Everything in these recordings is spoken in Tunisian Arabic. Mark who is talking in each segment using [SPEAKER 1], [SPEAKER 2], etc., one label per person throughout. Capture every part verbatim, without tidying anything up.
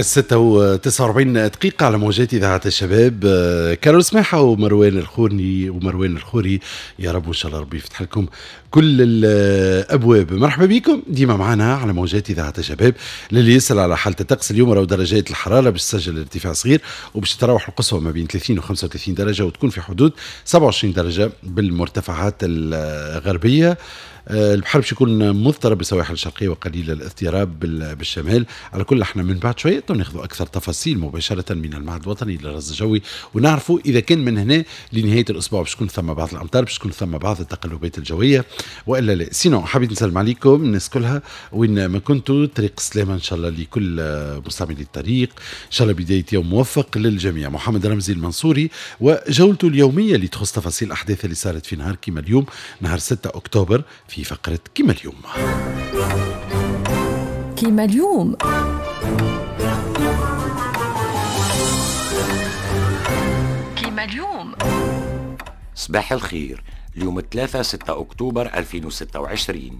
[SPEAKER 1] الستة وتسعة وأربعين دقيقة على موجات إذاعة الشباب. كارول سماحة ومروان الخوري ومروان الخوري، يا رب إن شاء الله ربي يفتح لكم كل الأبواب. مرحبا بكم ديما معنا على موجات إذاعة الشباب. للي يسأل على حالة الطقس اليوم، راهو درجات الحرارة باش تسجل ارتفاع صغير وباش تتراوح القصوى ما بين ثلاثين و خمسة وثلاثين درجة، وتكون في حدود سبعة وعشرين درجة بالمرتفعات الغربية. البحر باش يكون مضطرب بالسواحل الشرقية وقليل الاضطراب بالشمال. على كل احنا من بعد شوية ناخذ اكثر تفاصيل مباشرة من المعهد الوطني للرصد الجوي، ونعرفوا اذا كان من هنا لنهاية الاسبوع باش تكون ثم بعض الامطار، باش تكون ثم بعض التقلبات الجوية والا لا. sinon حبيت نسلم عليكم الناس كلها وين ما كنتوا، طريق السلامة ان شاء الله لكل مستعملي الطريق، ان شاء الله بداية يوم موفق للجميع. محمد رمزي المنصوري وجولته اليومية اللي تخص تفاصيل الاحداث اللي صارت في نهار كيما اليوم، نهار ستة اكتوبر، في فقرة كيما اليوم.
[SPEAKER 2] كيما اليوم كيما اليوم.
[SPEAKER 3] صباح الخير. اليوم ثلاثة ستة أكتوبر ألفين وستة وعشرين.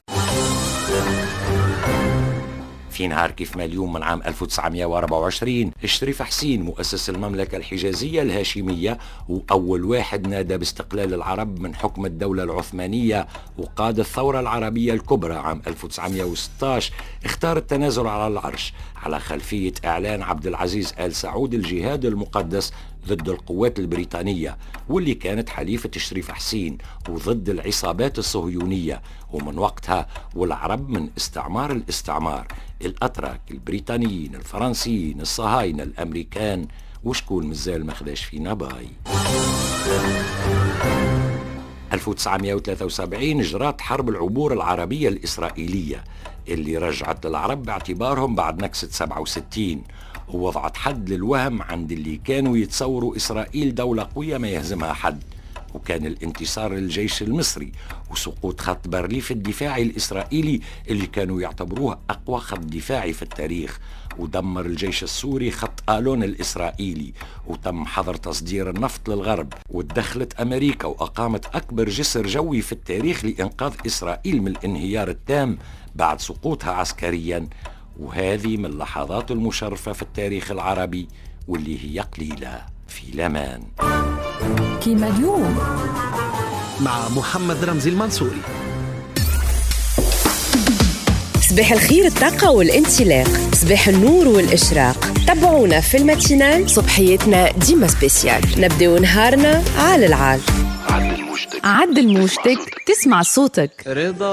[SPEAKER 3] في نهار كيف ما اليوم من عام ألف وتسعمائة وأربعة وعشرين، الشريف حسين مؤسس المملكة الحجازية الهاشمية وأول واحد نادى باستقلال العرب من حكم الدولة العثمانية وقاد الثورة العربية الكبرى عام ألف وتسعمائة وستة عشر، اختار التنازل على العرش على خلفية إعلان عبد العزيز آل سعود الجهاد المقدس ضد القوات البريطانية واللي كانت حليفة الشريف حسين وضد العصابات الصهيونية. ومن وقتها والعرب من استعمار الاستعمار، الأتراك، البريطانيين، الفرنسيين، الصهاينة، الأمريكان، وشكون مازال ما خداش فينا باي. ألف وتسعمائة وثلاثة وسبعين جرات حرب العبور العربية الإسرائيلية اللي رجعت للعرب باعتبارهم بعد نكسة سبعة وستين، ووضعت حد للوهم عند اللي كانوا يتصوروا إسرائيل دولة قوية ما يهزمها حد. وكان الانتصار للجيش المصري وسقوط خط بارليف الدفاعي الإسرائيلي اللي كانوا يعتبروه أقوى خط دفاعي في التاريخ، ودمر الجيش السوري خط آلون الإسرائيلي، وتم حظر تصدير النفط للغرب، وتدخلت أمريكا وأقامت أكبر جسر جوي في التاريخ لإنقاذ إسرائيل من الانهيار التام بعد سقوطها عسكريا. وهذه من اللحظات المشرفة في التاريخ العربي واللي هي قليلة. في لمان
[SPEAKER 2] كيما اليوم
[SPEAKER 4] مع محمد رمزي المنصوري.
[SPEAKER 5] صباح الخير، الطاقة والانطلاق، صباح النور والإشراق. تابعونا في ال matinale، صبحيتنا ديما spéciale. نبدأ نهارنا على العال.
[SPEAKER 2] عدل موجتك تسمع صوتك.